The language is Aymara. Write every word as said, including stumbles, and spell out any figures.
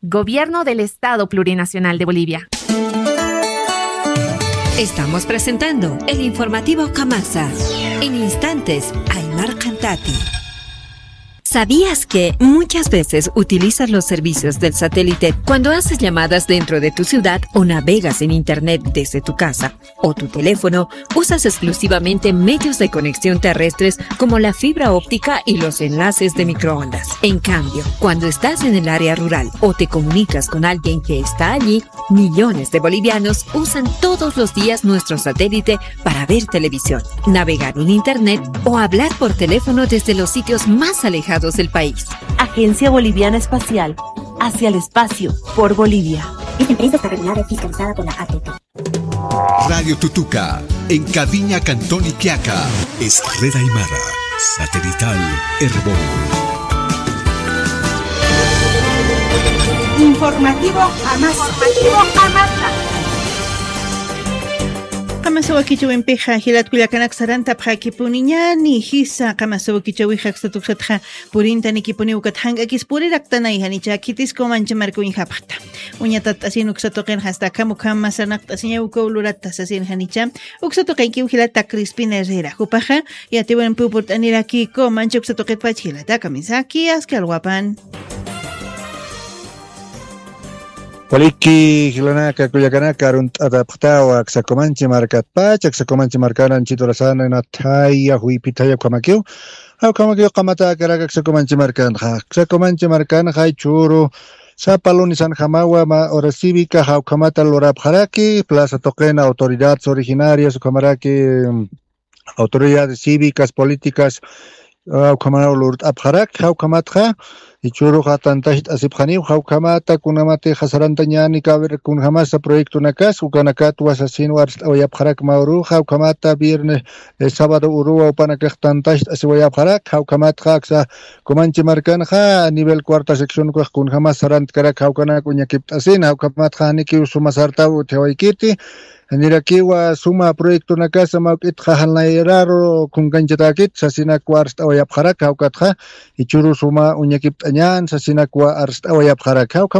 Gobierno del Estado Plurinacional de Bolivia. Estamos presentando el informativo Kamasa. En instantes, Aymar Cantati. ¿Sabías que muchas veces utilizas los servicios del satélite cuando haces llamadas dentro de tu ciudad o navegas en internet desde tu casa o tu teléfono? Usas exclusivamente medios de conexión terrestres como la fibra óptica y los enlaces de microondas. En cambio, cuando estás en el área rural o te comunicas con alguien que está allí, millones de bolivianos usan todos los días nuestro satélite para ver televisión, navegar en internet o hablar por teléfono desde los sitios más alejados del país. Agencia Boliviana Espacial, hacia el espacio, por Bolivia. Esta empresa está regulada y fiscalizada por la A T T. Radio Tutuca, en Caviña, Cantón Iquiaca, es Red Aymara, satelital Erbol. Informativo Amasa. Informativo Amasa. Qamasa wakichäwimpixa jilat kullakanak sarantapxakipuniñäni jisa, qamasa wakichäwixa aksat uksatxa purintanikipuniw ukat jank'akis puriraktanay janicha khitis Comanche marka uñjapxta. Uñatat'asin uksa tuqinxa, hasta akham ukham sarnaqt'asiñaw ukaw lurata sasin janicha. Uksa tuqinkiw jilata Crispina Herrera. Jupaxa yatiwimpiw purt'aniraki Comanche uksa tuqitpach jilata kamisaki aski alwapan. Waliki jilanaka kullakanaka, arunt'atapxtawa aksa Comanche markatpach, aksa Comanche markan anchit urasan nathaya juypithaya ukhamakiw. Jawkhamakiw qamatäkarak aksa Comanche markanxa. Aksa Comanche markanxa jichhüru sapa lunesanjamawa mä hora cívica jawkhamata lurapxaraki, plaza tuqin autoridades originarias ukhamaraki, mm, autoridades cívicas, políticas, jawkhamanaw lurt'apxaraki, jawkhamatxa jichhüruxa tantacht'asipxaniw, jawkhamata kunjamatixa sarantañäni, a ver, kunjamasa proyectonakas ukanakatwa sasinwa arst'awayapxaraki mä uruxa, jawkhamata viernes, eh, sábado uruwa jupanakax tantacht'asiwayapxaraki, jawkhamatxa aksa Comanche markanxa a nivel cuarta sección ukax kunjamas sarantkarak jawkanak uñakipt'asina, jawkhamatxa janikiw suma sartaw utjawaykiti, janirakiwa suma proyectonakasa mä juk'itxa jan nayraru kunkanchatäkit sasinakwa arst'awayapxaraki, jawkatxa jichhüru suma uñakipt'añän sasinakwa arst'awayapxaraki, jawkha